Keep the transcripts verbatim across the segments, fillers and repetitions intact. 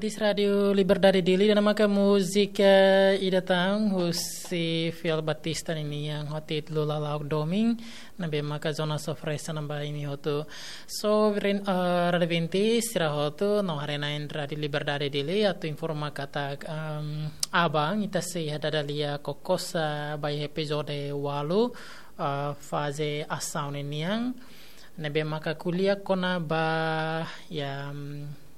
Di Rádiu Liberdade Dili, ida-ne'e maka múzika ida tan husi Fiel Batista ninian ho títulu Lala'ok Domin, ne'ebé maka Jonas oferese ba imi hotu. So, rin, eh, Rádiu Vinte, sira hotu, no haree-na'in Rádiu Liberdade Dili, atu informa katak, em, aban, ita sei iha dada lia Kokosa ba iha epizode ualu, eh, faze asaun ninian, ne'ebé maka ko'alia kona-ba, ya, em,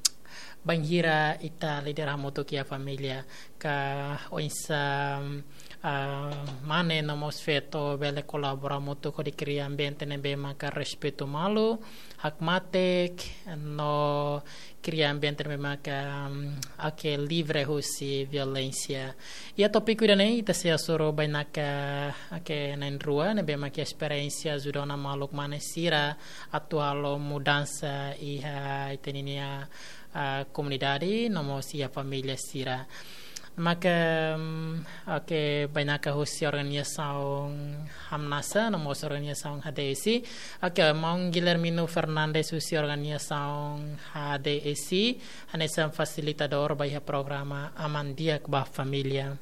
bainhira ita líder hamutuk iha família, ka oinsá, ah, mane no mós feto bele kolabora hamutuk hodi kria ambiente ne'ebé maka respeitu malu, hakmatek, no kria ambiente ne'ebé maka, mm, oke, livre husi violénsia. Iha tópiku ida-ne'e, ita sei hasoru bainaka, oke, na'in-rua, ne'ebé maka esperiénsia ajuda ona maluk mane sira atu halo mudansa iha ita-nia, ah, komunidade, no mós iha família sira. Maka, mm, oke, bainaka husi organizasaun Hamnasa, no mós organizasaun H D S I. Oke, maun Guilhermino Fernandes husi organizasaun H D S I, hanesan fasilitadór ba iha programa Aman Di'ak ba Família.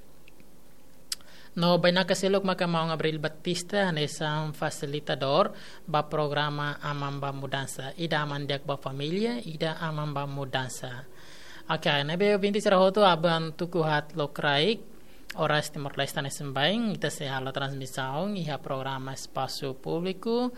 No bainaka seluk maka maun Abril Batista hanesan fasilitadór ba programa Aman ba Mudansa. Ida Aman Di'ak ba Família, ida Aman ba Mudansa. Oke, ne'ebé ouvinte sira hotu, aban tuku haat lokraik, oras Timor-Leste hanesan baibain, ita sei halo transmisaun iha programa Espasu Públiku.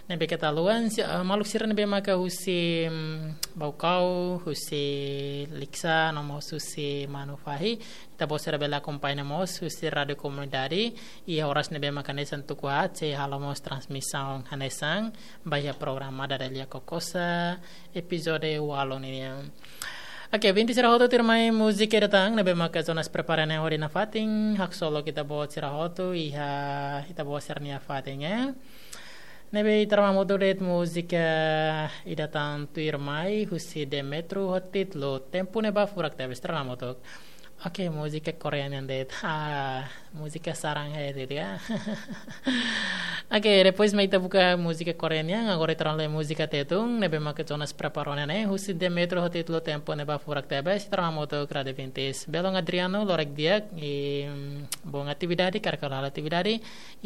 Ne'ebé keta haluha, si-, eh, maluk sira ne'ebé maka husi, mm, Baucau, husi Likisá, no mós husi Manufahi. Ita-boot sira bele akompaña mós husi Rádiu Komunidade, iha oras ne'ebé maka hanesan tuku haat, sei halo mós transmisaun hanesan ba iha programa Dada Lia Kokosa, epizode ualu ninian. Oke, ouvinte sira hotu, tuirmai múzika ida tan ne'ebé maka Jonas prepara ne'e hodi nafatin, haksolok ita-boot sira hotu iha ita-boot sira-nia fatin, eh. Ne'ebé ita rona hamutuk de'it múzika ida tan tuirmai husi Demetru ho títulu Tempu Ne'ebá Furak Tebes, ita rona hamutuk. Oke, múzika Korea nian de'it. Ah, múzika sarang he de'it ya. Oke, depois mai ita buka múzika Korea nian, agora ita rona lai múzika Tetun, ne'ebé maka Jonas prepara ona ne'e, husi Demetru ho títulu Tempu Ne'ebá Furak Tebes, ita rona hamutuk Rádiu Vinte. Belun Adriano, loron di'ak, i, mm, bom atividade, karik halo atividade,